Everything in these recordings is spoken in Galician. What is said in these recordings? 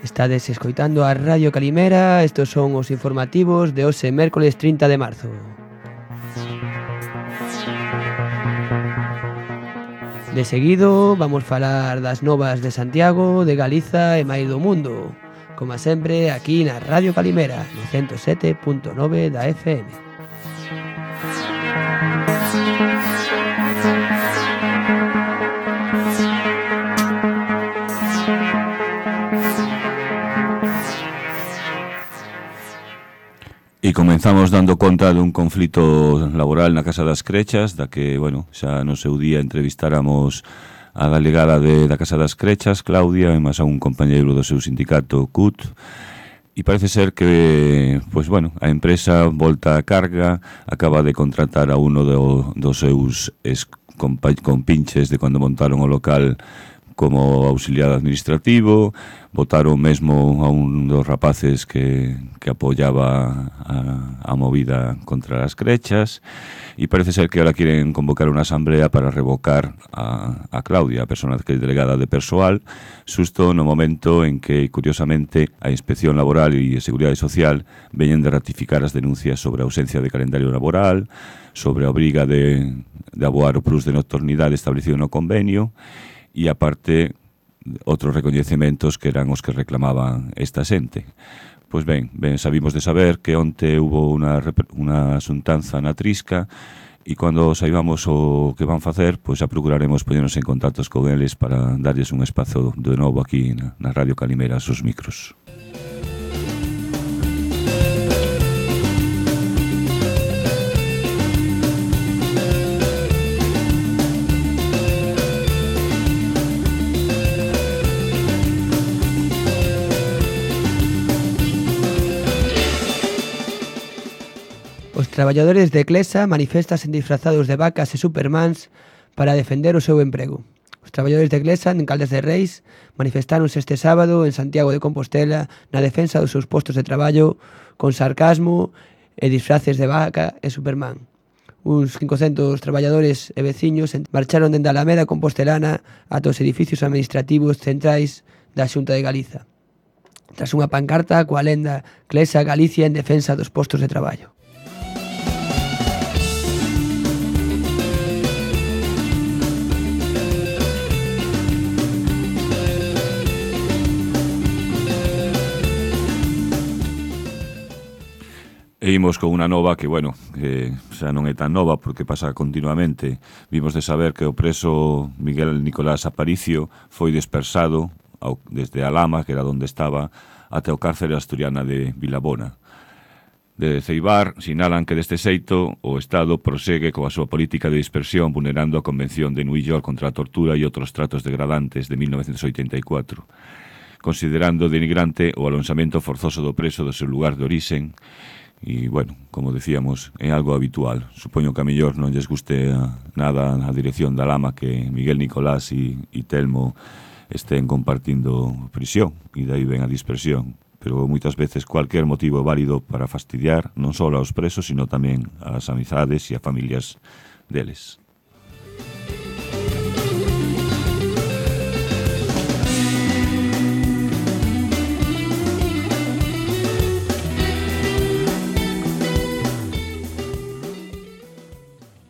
Estades escoitando a Radio Calimera. Estos son os informativos de hoxe, mércoles 30 de marzo. De seguido vamos falar das novas de Santiago, de Galiza e máis do mundo. Como sempre, aquí na Radio Calimera, no 107.9 da FM. E comenzamos dando conta dun conflito laboral na Casa das Crechas, da que, bueno, xa no seu día entrevistáramos a delegada da Casa das Crechas, Claudia, e máis a un compañeiro do seu sindicato, CUT, e parece ser que, pois, bueno, a empresa volta a carga, acaba de contratar a uno dos seus compinches de cando montaron o local como auxiliar administrativo, votaron mesmo a un dos rapaces que apoyaba a movida contra as crechas, e parece ser que ahora quieren convocar unha asamblea para revocar a Claudia, a persona que é delegada de persoal, xusto no momento en que, curiosamente, a Inspección Laboral e a Seguridade Social veñen de ratificar as denuncias sobre a ausencia de calendario laboral, sobre a obriga de aboar o plus de nocturnidade establecido no convenio, e aparte outros recoñecementos que eran os que reclamaban esta xente. Pois ben, sabimos de saber que onte hubo unha xuntanza na Trisca, e cando saibamos o que van facer, pois xa procuraremos poñernos en contactos con eles para darlles un espazo de novo aquí na Radio Calimera, aos micros. Os traballadores de Clesa manifestan disfrazados de vacas e supermans para defender o seu emprego. Os traballadores de Clesa, en Caldas de Reis, manifestáronse este sábado en Santiago de Compostela na defensa dos seus postos de traballo con sarcasmo e disfraces de vaca e superman. Uns 500 traballadores e veciños marcharon dende a Alameda Compostelana ata os edificios administrativos centrais da Xunta de Galiza, tras unha pancarta coa lenda Clesa Galicia en defensa dos postos de traballo. E imos con unha nova que, bueno, que xa non é tan nova porque pasa continuamente. Vimos de saber que o preso Miguel Nicolás Aparicio foi dispersado desde a Lama, que era onde estaba, até o cárcere asturiana de Vilabona. De Ceibar sinalan que deste xeito o Estado prosegue coa súa política de dispersión vulnerando a Convención de New York contra a tortura e outros tratos degradantes de 1984, considerando denigrante o alonsamento forzoso do preso do seu lugar de orixen. E, bueno, como decíamos, é algo habitual. Supoño que a mellor non lles guste nada a dirección da Lama que Miguel Nicolás e Telmo estén compartindo prisión, e dai ven a dispersión. Pero moitas veces cualquier motivo é válido para fastidiar non só aos presos, sino tamén ás amizades e a familias deles.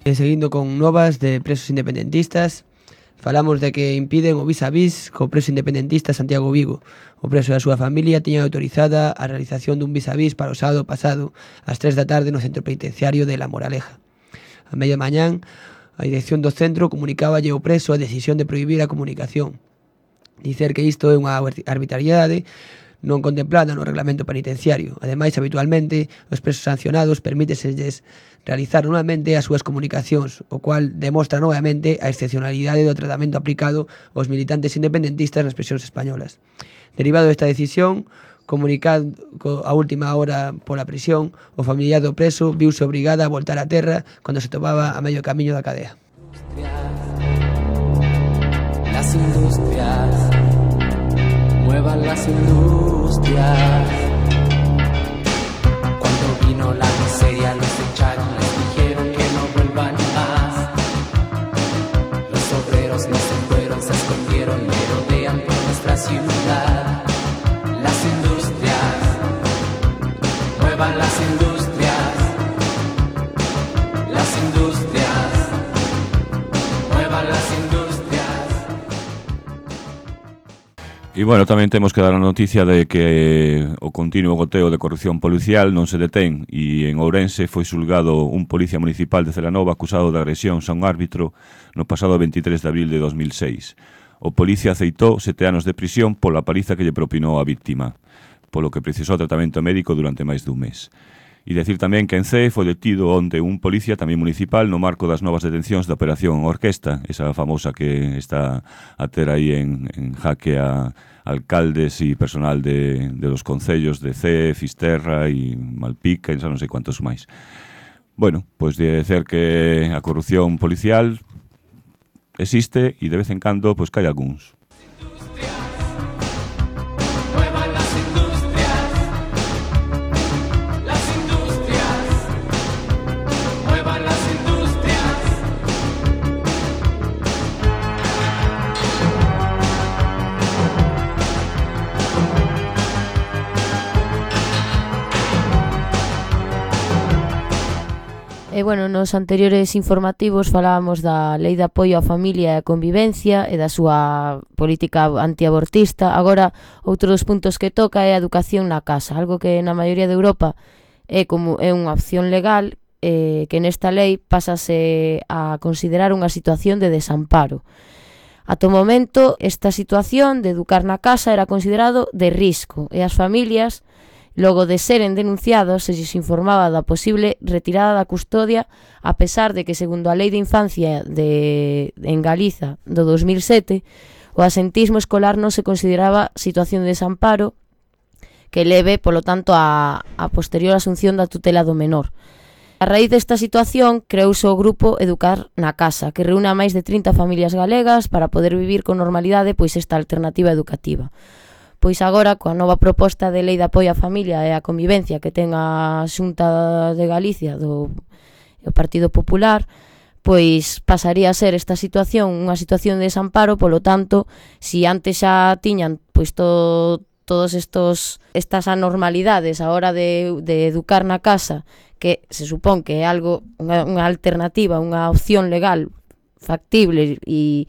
E seguindo con novas de presos independentistas, falamos de que impiden o vis a vis co preso independentista Santiago Vigo. O preso e a súa familia tiñan autorizada a realización dun vis a vis para o sábado pasado ás 3 da tarde no centro penitenciario de La Moraleja. A media mañán, a dirección do centro comunicáballe ao preso a decisión de prohibir a comunicación. Dicer que isto é unha arbitrariedade non contemplada no reglamento penitenciario. Ademais, habitualmente, os presos sancionados permíteselles realizar normalmente as súas comunicacións, o cual demostra novamente a excepcionalidade do tratamento aplicado aos militantes independentistas nas prisións españolas. Derivado desta decisión, comunicado a última hora pola prisión, o familiar do preso viuse obrigada a voltar a terra cando se topaba a medio camiño da cadea. Las industrias, muevan las industrias. Cuando vino la muevan las industrias, muevan las industrias. E, bueno, tamén temos que dar a noticia de que o continuo goteo de corrupción policial non se detén e en Ourense foi xulgado un policía municipal de Celanova acusado de agresión a un árbitro no pasado 23 de abril de 2006. O policía aceitou 7 anos de prisión pola paliza que lle propinou a víctima, polo que precisou tratamento médico durante máis dun mes. E decir tamén que en Cee foi detido onde un policía tamén municipal no marco das novas detencións da Operación Orquesta, esa famosa que está a ter aí en jaque a alcaldes e personal de los concellos de Cee, Fisterra e Malpica, e non sei cuantos máis. Bueno, pois de dizer que a corrupción policial existe e de vez en cando pois que hai algúns. E, bueno, nos anteriores informativos falábamos da Lei de Apoio á Familia e a Convivencia e da súa política antiabortista. Agora, outro dos puntos que toca é a educación na casa, algo que na maioría de Europa é unha opción legal, que nesta lei pásase a considerar unha situación de desamparo. Ata o momento, esta situación de educar na casa era considerado de risco e as familias, logo de seren denunciados, se lles informaba da posible retirada da custodia, a pesar de que, segundo a Lei de Infancia en Galiza do 2007, o asentismo escolar non se consideraba situación de desamparo que leve, polo tanto, a posterior asunción da tutela do menor. A raíz desta situación, creouse o grupo Educar na Casa, que reúne a máis de 30 familias galegas para poder vivir con normalidade pois esta alternativa educativa. Pois agora, coa nova proposta de Lei de Apoio á Familia e á Convivencia que ten a Xunta de Galicia do Partido Popular, pois pasaría a ser esta situación unha situación de desamparo. Polo tanto, si antes xa tiñan pois todos estas anormalidades a hora de educar na casa, que se supón que é algo unha alternativa, unha opción legal factible e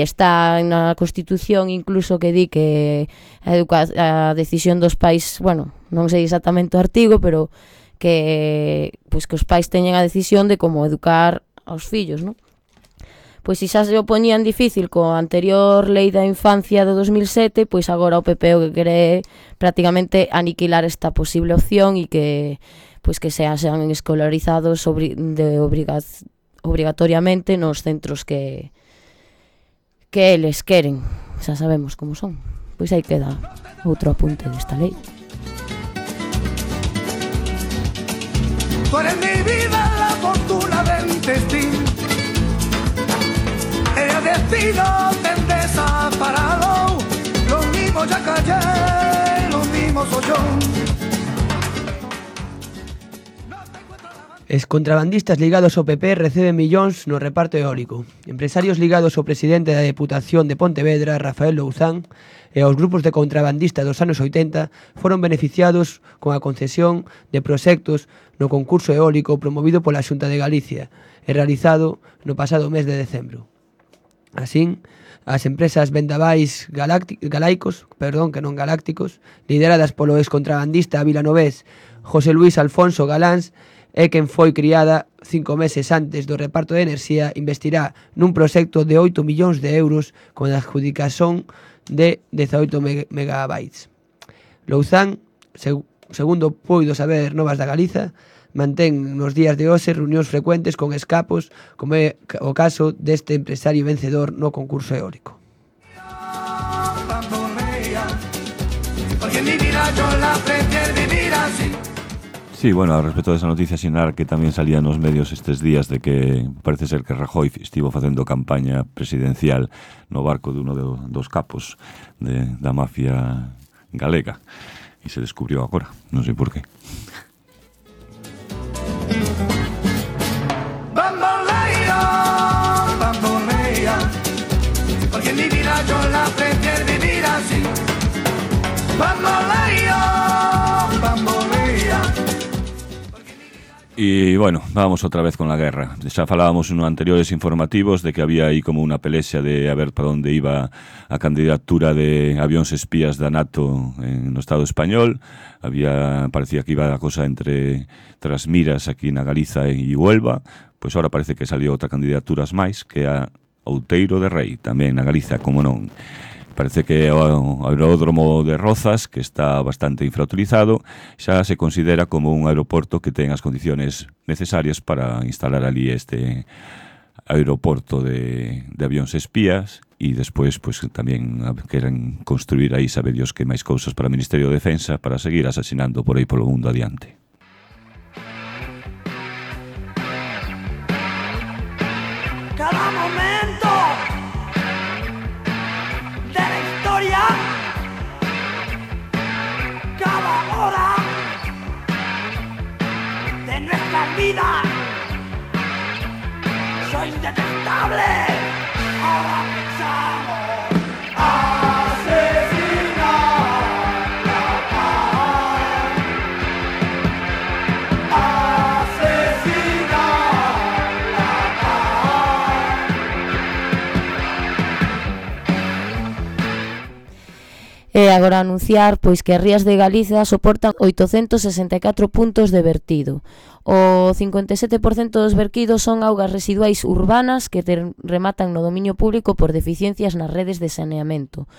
está na Constitución incluso que di que a decisión dos pais, bueno, non sei exactamente o artigo, pero que pois que os pais teñen a decisión de como educar aos fillos, non? Pois se xa se o poñían difícil coa anterior Lei da Infancia do 2007, pois agora o PP o que quere é prácticamente aniquilar esta posible opción e que pois que sean escolarizados obrigatoriamente nos centros que eles queren. Xa sabemos como son. Pois aí queda outro apunte desta lei. Tú eres mi vida, la fortuna del destino. El destino te desaparado. Lo mismo ya callé, lo mismo soy yo. Es contrabandistas ligados ao PP receben millóns no reparto eólico. Empresarios ligados ao presidente da Deputación de Pontevedra, Rafael Louzán, e aos grupos de contrabandistas dos anos 80 foron beneficiados con a concesión de proxectos no concurso eólico promovido pola Xunta de Galicia e realizado no pasado mes de decembro. Así, as empresas vendavais galácticos, lideradas polo excontrabandista vilanovés José Luis Alfonso Galáns, é quen foi criada 5 meses antes do reparto de enerxía, investirá nun proxecto de 8 millóns de euros con a adjudicación de 18 megabytes. Louzán, segundo poido saber Novas da Galiza, mantén nos días de hoxe reunións frecuentes con escapos, como é o caso deste empresario vencedor no concurso eólico. Sí, bueno, respecto a esa noticia sinar que tamén salía nos medios estes días de que parece ser que Rajoy estivo facendo campaña presidencial no barco de uno dos capos da mafia galega e se descubriu agora, non sei por qué. Bambolea, bambolea, porque mi vida yo la prefiero vivir así. Bambolea, bambolea. Y bueno, vamos outra vez con la guerra. Xa falábamos en anteriores informativos de que había aí como unha pelexia de a ver para onde iba a candidatura de avións espías da NATO no Estado español. Parecía que iba a cosa entre Trasmiras aquí na Galiza e Huelva. Pois ahora parece que salió outra candidaturas máis, que é a Outeiro de Rei, tamén na Galiza, como non. Parece que o aeródromo de Rozas, que está bastante infrautilizado, xa se considera como un aeroporto que ten as condiciones necesarias para instalar ali este aeroporto de avións espías, e despois pues, tamén queren construir aí, sabe Dios, que máis cousas para o Ministerio de Defensa para seguir asasinando por aí polo mundo adiante. Cada momento de la historia, cada hora de nuestra vida, sois detestables. Ahora pensamos asesinar la paz, asesinar la paz. E agora anunciar pois que as rías de Galiza soportan 864 puntos de vertido. O 57% dos vertidos son augas residuais urbanas que rematan no dominio público por deficiencias nas redes de saneamento.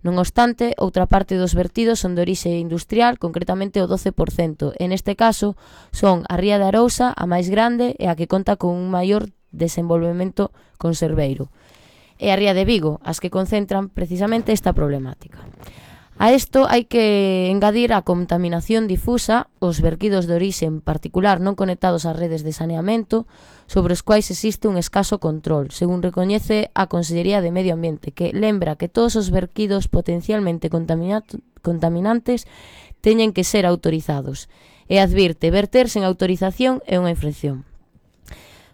Non obstante, outra parte dos vertidos son de orixe industrial, concretamente o 12%. En este caso, son a ría de Arousa, a máis grande e a que conta con un maior desenvolvemento conserveiro. E a ría de Vigo, as que concentran precisamente esta problemática. A isto hai que engadir a contaminación difusa, os vertidos de orixe en particular non conectados ás redes de saneamento, sobre os quais existe un escaso control, según recoñece a Consellería de Medio Ambiente, que lembra que todos os vertidos potencialmente contaminantes teñen que ser autorizados, e advirte verter sen autorización é unha infracción.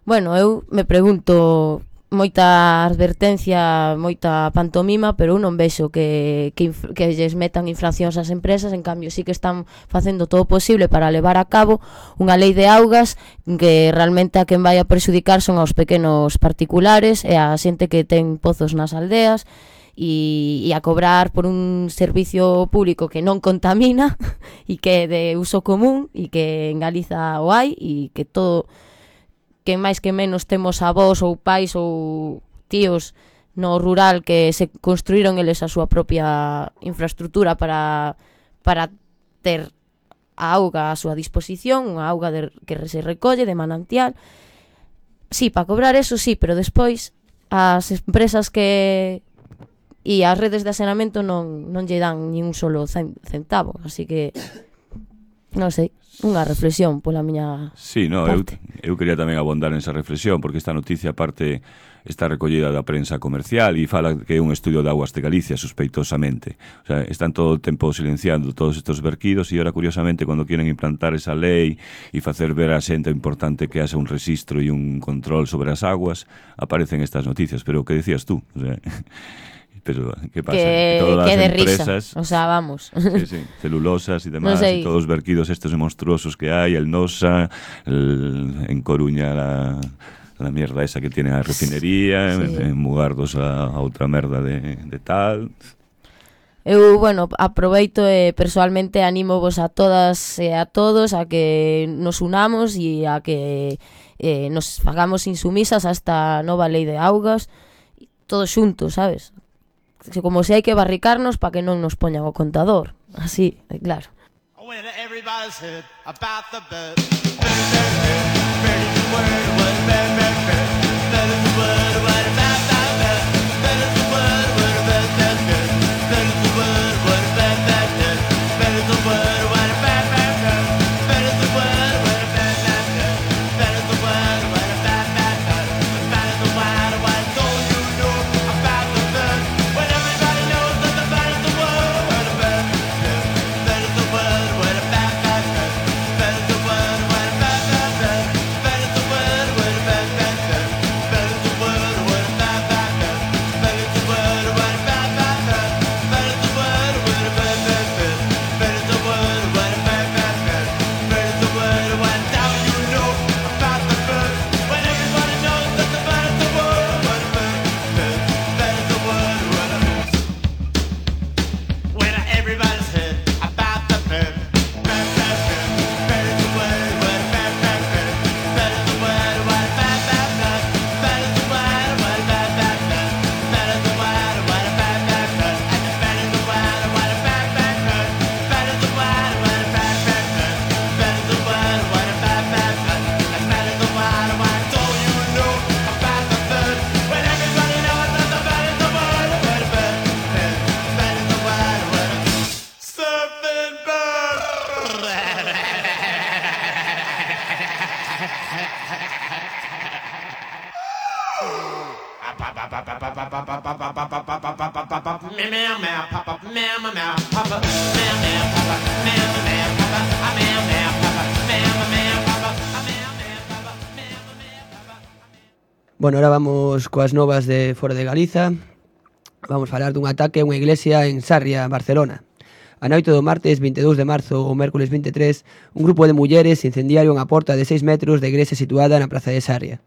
Bueno, eu me pregunto, moita advertencia, moita pantomima, pero eu non vexo que lles metan infraccións ás empresas. En cambio, sí que están facendo todo o posible para levar a cabo unha lei de augas que realmente a quen vai a perxudicar son aos pequenos particulares e a xente que ten pozos nas aldeas e a cobrar por un servicio público que non contamina e que é de uso común e que en Galiza o hai e que todo, que máis que menos temos avós ou pais ou tíos no rural que se construíron eles a súa propia infraestructura para ter a auga a súa disposición, unha auga que se recolle de manantial. Sí, para cobrar eso sí, pero despois as empresas que e as redes de asenamento non lle dan ni un solo centavo, así que non sei, unha reflexión pola miña parte. Eu quería tamén abondar nesa reflexión, porque esta noticia aparte está recollida da prensa comercial e fala que é un estudio de Augas de Galicia, sospeitosamente. O sea, están todo o tempo silenciando todos estes verquidos e ahora, curiosamente, cando quieren implantar esa lei e facer ver a xente importante que haxa un registro e un control sobre as aguas, aparecen estas noticias. Pero o que decías tú? O sea, pero ¿qué pasa? Que todas de las empresas, risa, o sea, vamos. Sí, celulosas y demás, No sé. y todos los verquidos estos monstruosos que hay, el NOSA, en Coruña la mierda esa que tiene la refinería, Sí. en Mugardos a outra merda de tal. Eu, bueno, aproveito e persoalmente animo vos a todas e a todos a que nos unamos e a que nos fagamos insumisas a esta nova lei de augas, todos xuntos, sabes? Como se hai que barricarnos para que non nos poñan o contador. Así, claro. When everybody's heard about the bird, bird is the word, what bird, bird, bird, bird is the word, what about the bird, bird is the word, what bird, bird, bird, bird is the word, what bird, bird, bird, bird is the word, what bird, bird, bird, bird is the word, what bird, bird, bird, bird is the word, what bird, bird, bird, bird is the word, what don't you know about the bird? When everybody knows that the bird is the word, what bird, bird is the word, what bird, bird, bird is the word, what bird, bird, bird is the word, what bird, bird, bird is the word, what Bueno, ahora vamos coas novas de fora de Galiza. Vamos falar dun ataque a unha iglesia en Sarria, Barcelona. A noite do martes 22 de marzo ou mércoles 23, un grupo de mulleres incendiaron a porta de 6 metros da iglesia situada na praza de Sarria.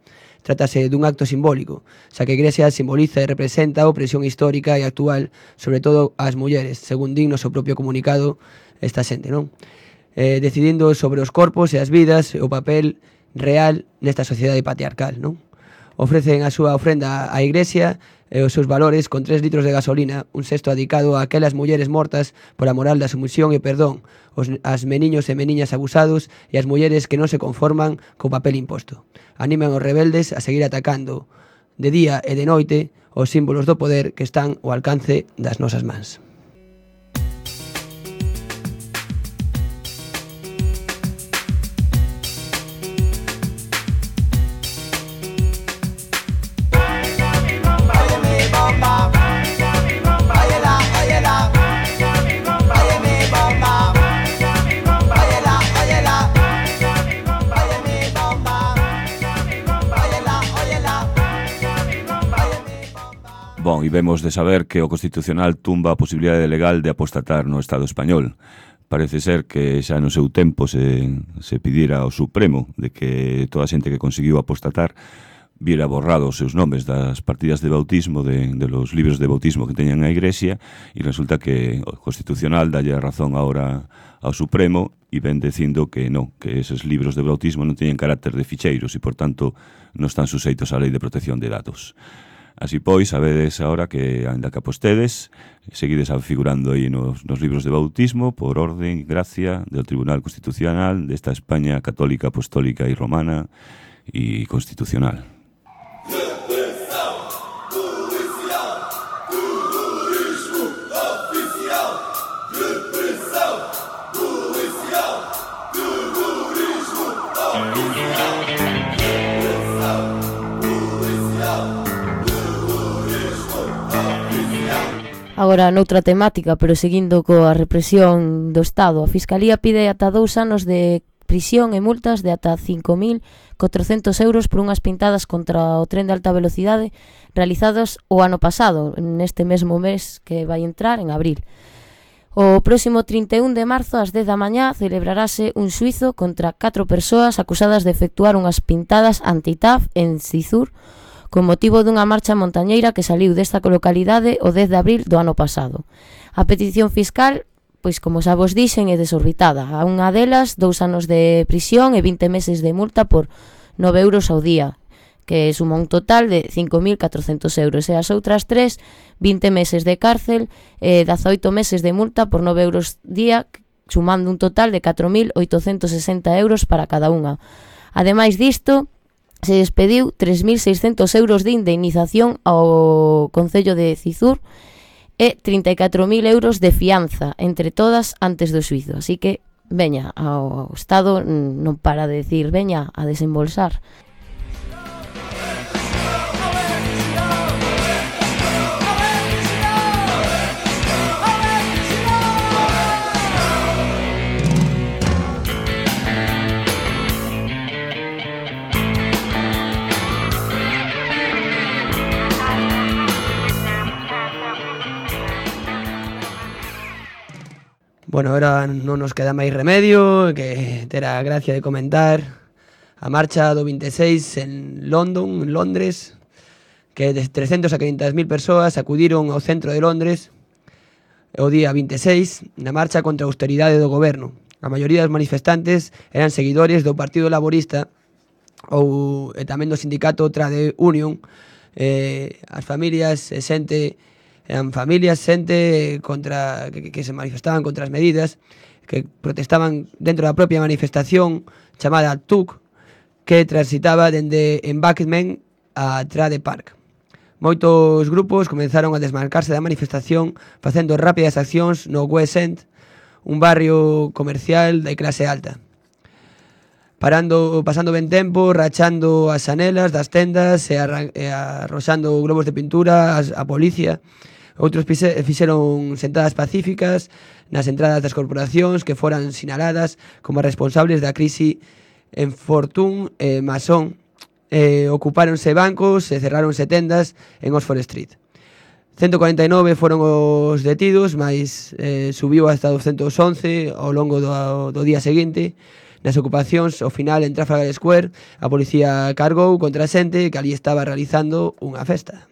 Trátase dun acto simbólico, xa que a iglesia simboliza e representa a opresión histórica e actual, sobre todo ás mulleres, según din no seu propio comunicado esta xente, non? Decidindo sobre os corpos e as vidas e o papel real nesta sociedade patriarcal, non? Ofrecen a súa ofrenda á iglesia e os seus valores con 3 litros de gasolina, un cesto dedicado a aquelas mulleres mortas pola moral da sumisión e perdón, as meniños e meniñas abusados e as mulleres que non se conforman co papel imposto. Animan os rebeldes a seguir atacando de día e de noite os símbolos do poder que están ao alcance das nosas mans. Bon, e vemos de saber que o Constitucional tumba a posibilidade legal de apostatar no Estado español. Parece ser que xa no seu tempo se pidira ao Supremo de que toda a xente que conseguiu apostatar viera borrado os seus nomes das partidas de bautismo, de los libros de bautismo que teñan a Iglesia, e resulta que o Constitucional dalle a razón agora ao Supremo e ven dicindo que non, que esos libros de bautismo non teñen carácter de ficheiros e, por tanto, non están suseitos á Lei de Protección de Datos. Así pois, sabedes agora que, ainda que apostedes, seguides figurando aí nos libros de bautismo por orden e gracia do Tribunal Constitucional desta España católica, apostólica e romana e constitucional. Agora, noutra temática, pero seguindo coa represión do Estado, a Fiscalía pide ata 2 anos de prisión e multas de ata 5.400 euros por unhas pintadas contra o tren de alta velocidade realizadas o ano pasado, neste mesmo mes que vai entrar, en abril. O próximo 31 de marzo, ás 10 da mañá, celebrarase un xuízo contra 4 persoas acusadas de efectuar unhas pintadas anti-TAF en Cizur, con motivo dunha marcha montañeira que saliu desta localidade o 10 de abril do ano pasado. A petición fiscal, pois como xa vos dixen, é desorbitada. A unha delas, 2 anos de prisión e 20 meses de multa por 9 euros ao día, que suma un total de 5.400 euros. E as outras 3, 20 meses de cárcel e 18 meses de multa por 9 euros día, sumando un total de 4.860 euros para cada unha. Ademais disto, se despediu 3.600 euros de indemnización ao Concello de Cizur e 34.000 euros de fianza entre todas antes do xuízo. Así que, veña, ao Estado non para de decir, veña a desembolsar. Bueno, ahora non nos queda máis remedio que ter a gracia de comentar a marcha do 26 en Londres, que de 300 a 500.000 persoas acudiron ao centro de Londres o día 26 na marcha contra a austeridade do goberno. A maioría dos manifestantes eran seguidores do Partido Laborista ou tamén do sindicato Trade Union. As familias e xente eran familias, xente contra que se manifestaban contra as medidas, que protestaban dentro da propia manifestación chamada TUC, que transitaba dende Embankment a Trade Park. Moitos grupos comenzaron a desmarcarse da manifestación facendo rápidas accións no West End, un barrio comercial de clase alta. pasando ben tempo, rachando as xanelas das tendas e arroxando globos de pintura a policía. Outros fixeron sentadas pacíficas nas entradas das corporacións que foran sinaladas como responsables da crise en Fortune e Mason. Ocupáronse bancos e cerráronse tendas en Oxford Street. 149 foron os detidos, mais subiu hasta 211 ao longo do día seguinte. Nas ocupacións, ao final, en Trafalgar Square, a policía cargou contra a xente que ali estaba realizando unha festa.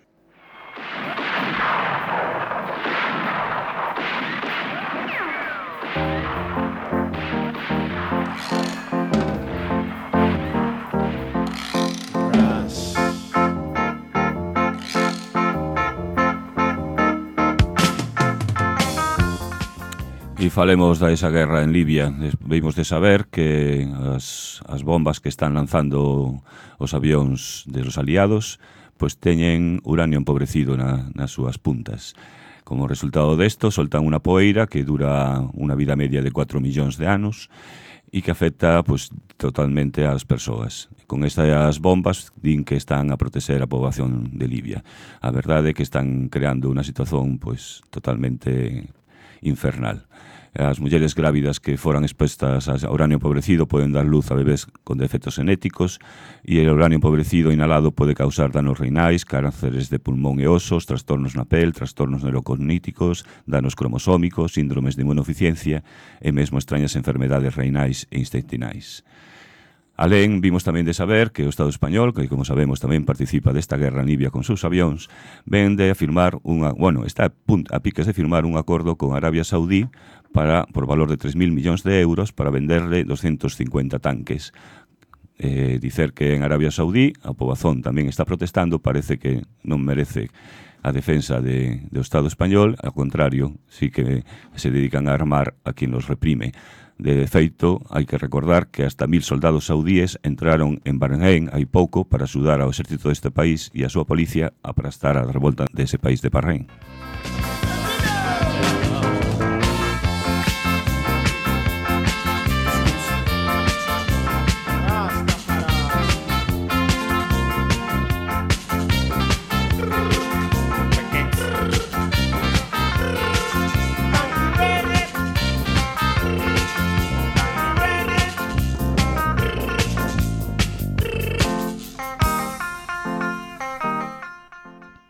E falemos da esa guerra en Libia. Vimos de saber que as bombas que están lanzando os avións de los aliados pois teñen uranio empobrecido nas súas puntas. Como resultado desto, soltan unha poeira que dura unha vida media de 4 millóns de anos e que afecta pois totalmente ás persoas. Con estas bombas din que están a protexer a poboación de Libia. A verdade é que están creando unha situación pois totalmente infernal. As mulleres grávidas que foran expostas a uranio empobrecido poden dar luz a bebés con defectos genéticos e o uranio empobrecido inhalado pode causar danos renais, cánceres de pulmón e osos, trastornos na pel, trastornos neurocogníticos, danos cromosómicos, síndromes de inmunodeficiencia e mesmo extrañas enfermedades renais e intestinais. Alén, vimos tamén de saber que o Estado español, que como sabemos tamén participa desta guerra en Libia con seus avións, ven de firmar está a piques de firmar un acordo con Arabia Saudí por valor de 3.000 millóns de euros para venderle 250 tanques. Dicer que en Arabia Saudí a poboación tamén está protestando, parece que non merece a defensa do Estado español, ao contrario, sí que se dedican a armar a quien los reprime. De feito, hai que recordar que hasta 1.000 soldados saudíes entraron en Bahrein hai pouco para axudar ao exército deste país e a súa policía a aplastar a revolta dese país de Bahrein.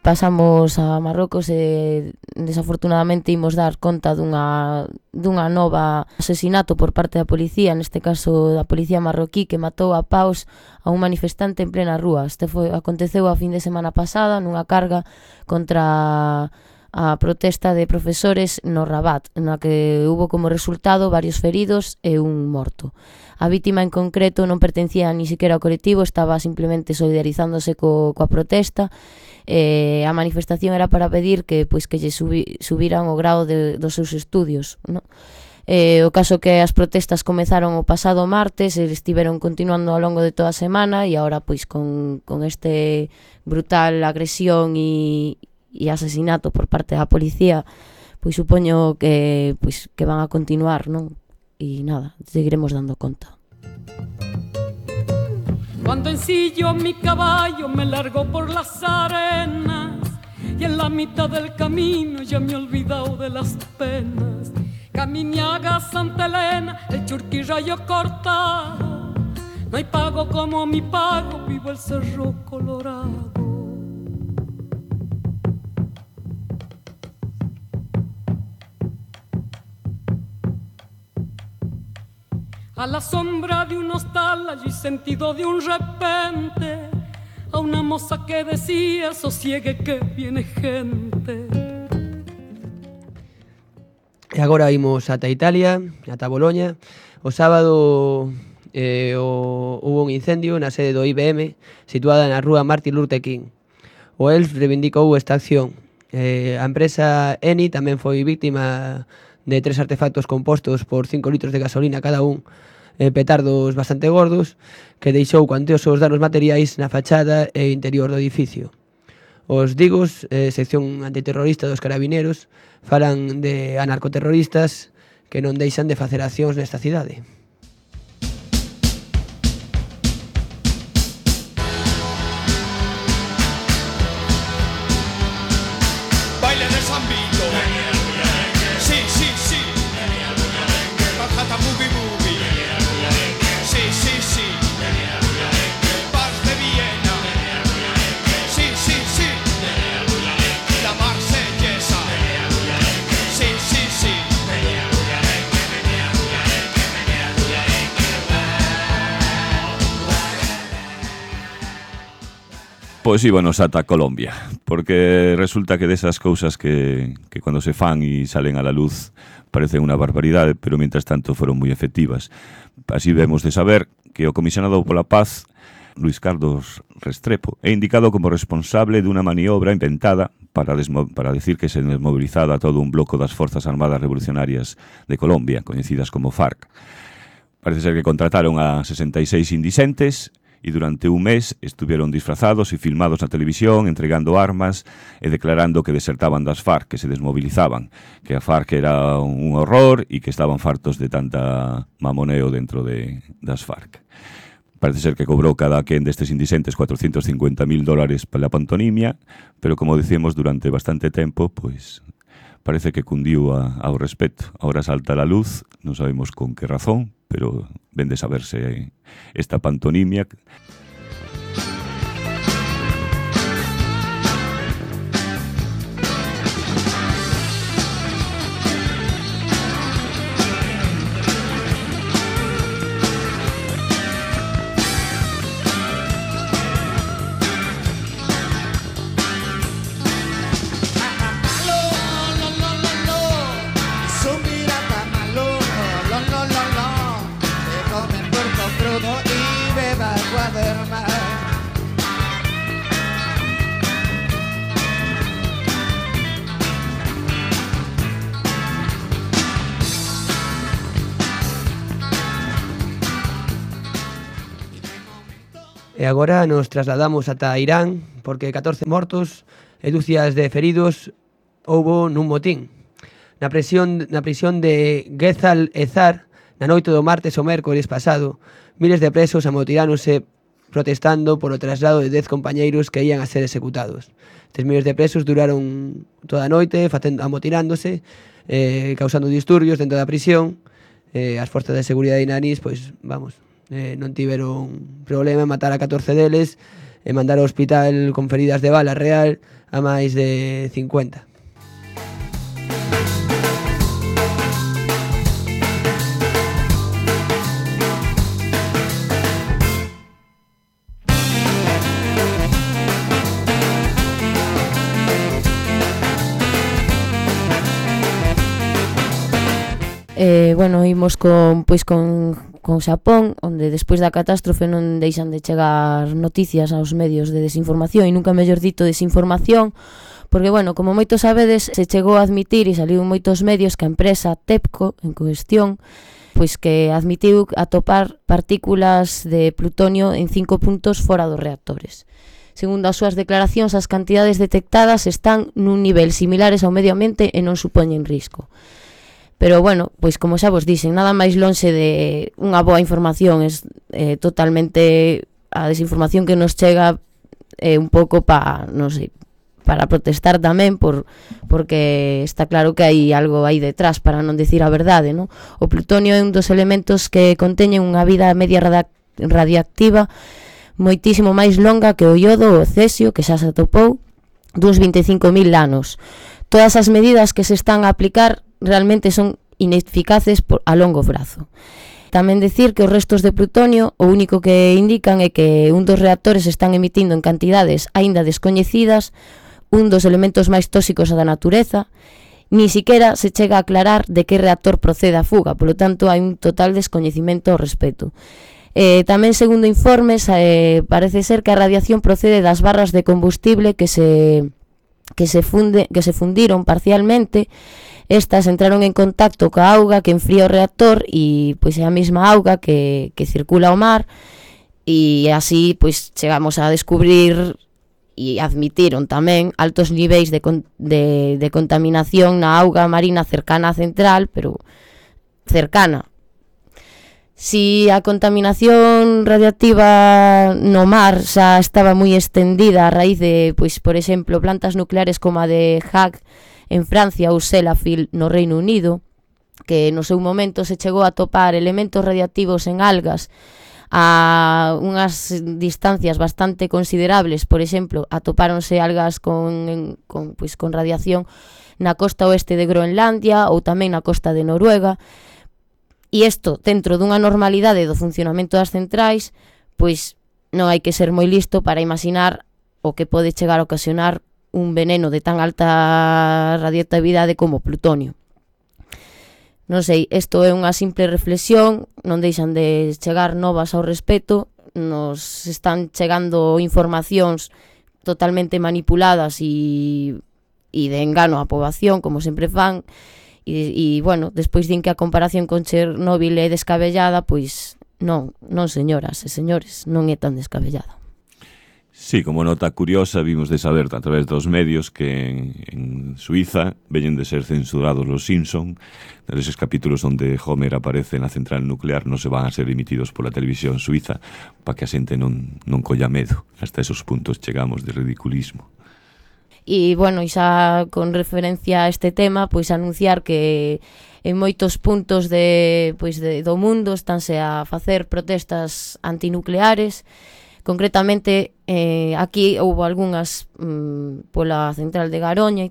Pasamos a Marrocos e desafortunadamente imos dar conta dunha nova asesinato por parte da policía, neste caso da policía marroquí, que matou a paus a un manifestante en plena rúa. Aconteceu a fin de semana pasada nunha carga contra a protesta de profesores no Rabat, na que hubo como resultado varios feridos e un morto. A vítima en concreto non pertencía ni siquiera ao colectivo, estaba simplemente solidarizándose coa protesta. A manifestación era para pedir que lle subiran o grado dos seus estudios, no? O caso que as protestas comezaron o pasado martes e estiveron continuando ao longo de toda a semana e agora pois con este brutal agresión e asesinato por parte da policía, pois supoño que van a continuar, non? E nada, seguiremos dando conta. Cuando ensillo mi caballo me largo por las arenas y en la mitad del camino ya me he olvidado de las penas. Caminiaga, Santa Elena, el Churquirrayo cortado, no hay pago como mi pago, vivo el Cerro Colorado. A la sombra de un hostal allí sentido de un repente a una moza que decía sosiegue que viene gente. E agora imos ata Italia, ata Boloña. O sábado hubo un incendio na sede do IBM situada na rúa Martin Luther King. O ELF reivindicou esta acción. A empresa Eni tamén foi víctima de 3 artefactos compostos por 5 litros de gasolina cada un, petardos bastante gordos, que deixou cuantiosos danos materiais na fachada e interior do edificio. Os Digos, sección antiterrorista dos carabineros, falan de anarcoterroristas que non deixan de facer accións nesta cidade. Pois íbanos ata Colombia, porque resulta que desas cousas que cando se fan e salen a la luz parecen unha barbaridade, pero mientras tanto foron moi efectivas. Así vemos de saber que o comisionado pola paz, Luis Carlos Restrepo, é indicado como responsable dunha maniobra inventada para decir que se desmobilizara todo un bloco das Forzas Armadas Revolucionarias de Colombia, coñecidas como FARC. Parece ser que contrataron a 66 indicentes e durante un mes estuvieron disfrazados e filmados na televisión, entregando armas e declarando que desertaban das FARC, que se desmovilizaban, que a FARC era un horror e que estaban fartos de tanta mamoneo dentro das FARC. Parece ser que cobrou cada quen destes indicentes $450,000 para a pantonimia, pero como dicimos durante bastante tempo, pois parece que cundiu ao respecto. Ahora salta a la luz, non sabemos con que razón, pero ven de saberse esta pantonimia. E agora nos trasladamos ata Irán, porque 14 mortos e dúcias de feridos houbo nun motín. Na prisión de Gezal Ezar, na noite do martes ao mércores pasado, miles de presos amotiráronse protestando polo traslado de 10 compañeiros que ían a ser executados. Estes miles de presos duraron toda a noite amotirándose, causando disturbios dentro da prisión. As forzas de seguridade iraníes, pois, non tiveron problema en matar a 14 deles e mandar ao hospital con feridas de bala real a máis de 50. Imos con Xapón, onde despois da catástrofe non deixan de chegar noticias aos medios de desinformación, e nunca mellor dito desinformación, porque, como moitos sabedes, se chegou a admitir e saliu en moitos medios que a empresa TEPCO, en cuestión, pois que admitiu atopar partículas de plutonio en 5 puntos fora dos reactores. Segundo as súas declaracións, as cantidades detectadas están nun nivel similares ao medio ambiente e non supoñen risco. Pero, pois como xa vos dixen, nada máis lonxe de unha boa información, é totalmente a desinformación que nos chega un pouco para protestar tamén, porque está claro que hai algo aí detrás, para non dicir a verdade, non? O plutonio é un dos elementos que conteñen unha vida media radiactiva moitísimo máis longa que o iodo ou o cesio, que xa se atopou, duns 25.000 anos. Todas as medidas que se están a aplicar realmente son ineficaces a longo prazo. Tamén decir que os restos de plutonio o único que indican é que un dos reactores están emitindo en cantidades aínda descoñecidas, un dos elementos máis tóxicos da natureza, ni siquiera se chega a aclarar de que reactor procede a fuga, polo tanto hai un total descoñecimento ao respecto. Tamén, segundo informes, parece ser que a radiación procede das barras de combustible que se fundiron parcialmente. Estas entraron en contacto coa auga que enfría o reactor e pois é a mesma auga que circula ao mar, e así pois chegamos a descubrir e admitiron tamén altos niveis de contaminación na auga marina cercana á central, pero cercana. Si a contaminación radiactiva no mar xa estaba moi extendida a raíz de, pois, por exemplo, plantas nucleares como a de Haag en Francia ou Sellafield no Reino Unido, que no seu momento se chegou a topar elementos radiactivos en algas a unhas distancias bastante considerables. Por exemplo, atopáronse algas con radiación na costa oeste de Groenlandia ou tamén na costa de Noruega. E isto, dentro dunha normalidade do funcionamento das centrais, pois non hai que ser moi listo para imaginar o que pode chegar a ocasionar un veneno de tan alta radioactividade como plutonio. Non sei, isto é unha simple reflexión, non deixan de chegar novas ao respecto, nos están chegando informacións totalmente manipuladas e de engano á poboación, como sempre fan, e bueno, despois din que a comparación con Chernóbil é descabellada, pois non, señoras e señores, non é tan descabellada. Sí, como nota curiosa, vimos de saber a través dos medios que en Suiza veñen de ser censurados los Simpson, esos capítulos onde Homer aparece na central nuclear non se van a ser emitidos pola televisión suiza para que a xente non colla medo. Hasta esos puntos chegamos de ridiculismo. E, bueno, xa con referencia a este tema, pois anunciar que en moitos puntos do mundo estánse a facer protestas antinucleares. Concretamente, aquí houve algunhas pola central de Garoña,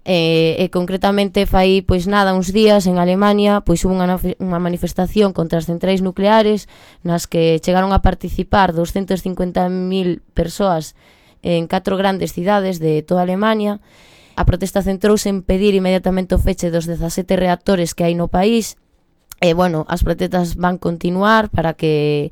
e concretamente fai pois nada uns días en Alemania pois hubo unha manifestación contra as centrais nucleares nas que chegaron a participar 250.000 persoas en 4 grandes cidades de toda Alemania. A protesta centrouse en pedir inmediatamente o feche dos 17 reactores que hai no país. E, bueno, as protestas van continuar para que,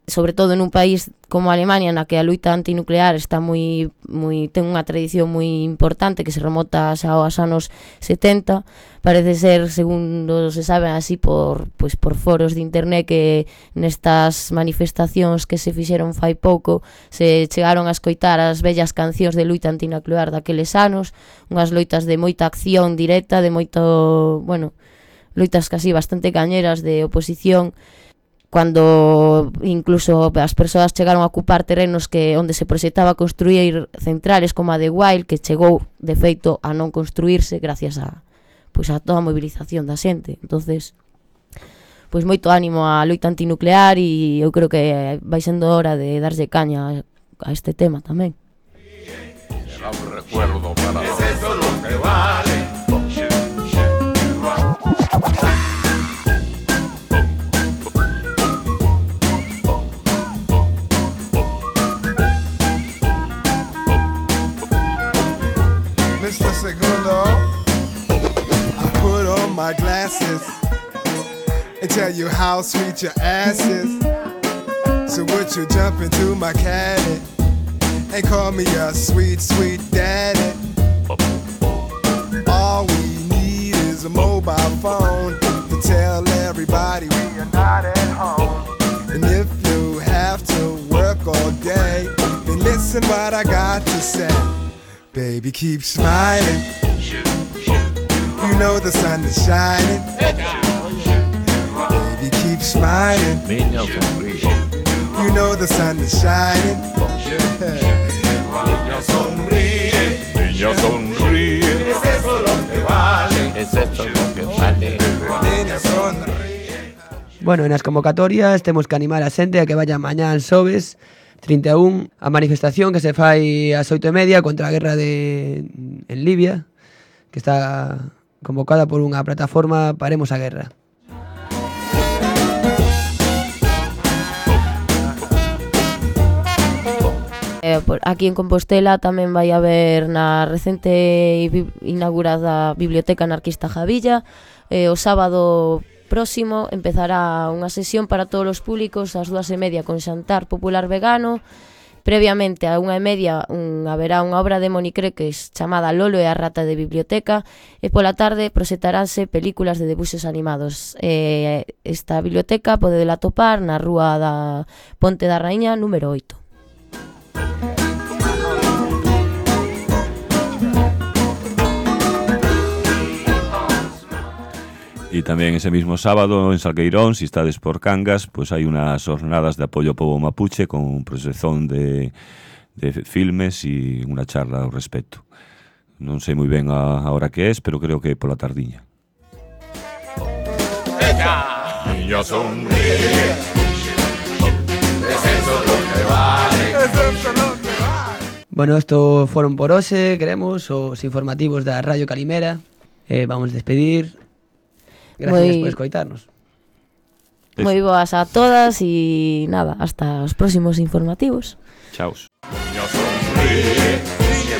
sobre todo en un país como Alemania, na que a luita antinuclear está ten unha tradición moi importante que se remota xa aos anos 70. Parece ser, segundo se sabe así por foros de internet, que nestas manifestacións que se fixeron fai pouco se chegaron a escoitar as vellas cancións de luita antinuclear daqueles anos, unhas loitas de moita acción directa, de moito, bueno, loitas casi bastante cañeras de oposición, cando incluso as persoas chegaron a ocupar terrenos onde se proxectaba construir centrales como a de Weil, que chegou de feito a non construirse gracias a toda a movilización da xente. Entonces, pois moito ánimo á loita antinuclear, e eu creo que vai sendo hora de darlle caña a este tema tamén. Será un recuerdo para es eso lo que vale. Mr. Segundo, I put on my glasses and tell you how sweet your ass is. So would you jump into my caddy and call me a sweet, sweet daddy? All we need is a mobile phone to tell everybody we are not at home. And if you have to work all day, then listen what I got to say. Baby, keep smiling. You know the sun is shining. Baby, keep smiling. You know the sun is shining. Niña sonríe, niña sonríe. Es eso lo que vale. Es eso lo que vale. Niña sonríe. Bueno, nas convocatorias temos que animar a xente a que vaya mañá en xoves 31 a manifestación que se fai ás 8:30 contra a guerra en Libia, que está convocada por unha plataforma Paremos a Guerra. Aquí en Compostela tamén vai haber na recente inaugurada Biblioteca Anarquista Javilla. O sábado próximo empezará unha sesión para todos os públicos ás 2:30 con xantar popular vegano. Previamente a 1:30 haberá unha obra de Moni Creques chamada Lolo e a rata de biblioteca, e pola tarde proxectaránse películas de debuxos animados. Esta biblioteca podedela atopar na rúa da Ponte da Raíña número 8. E tamén ese mismo sábado en Salgueirón, se estades por Cangas, pois hai unhas jornadas de apoio ao pobo mapuche con proxección de filmes e unha charla ao respecto. Non sei moi ben a hora que é, pero creo que é pola tardiña. Niña sonríe. Es eso lo que vale. Es eso lo que vale. Bueno, esto foron por hoxe, queremos, os informativos da Radio Calimera. Vamos a despedir. Gracias por escoitarnos. Moi boas a todas e nada, hasta os próximos informativos. Chaos. Niño sonríe, Niña,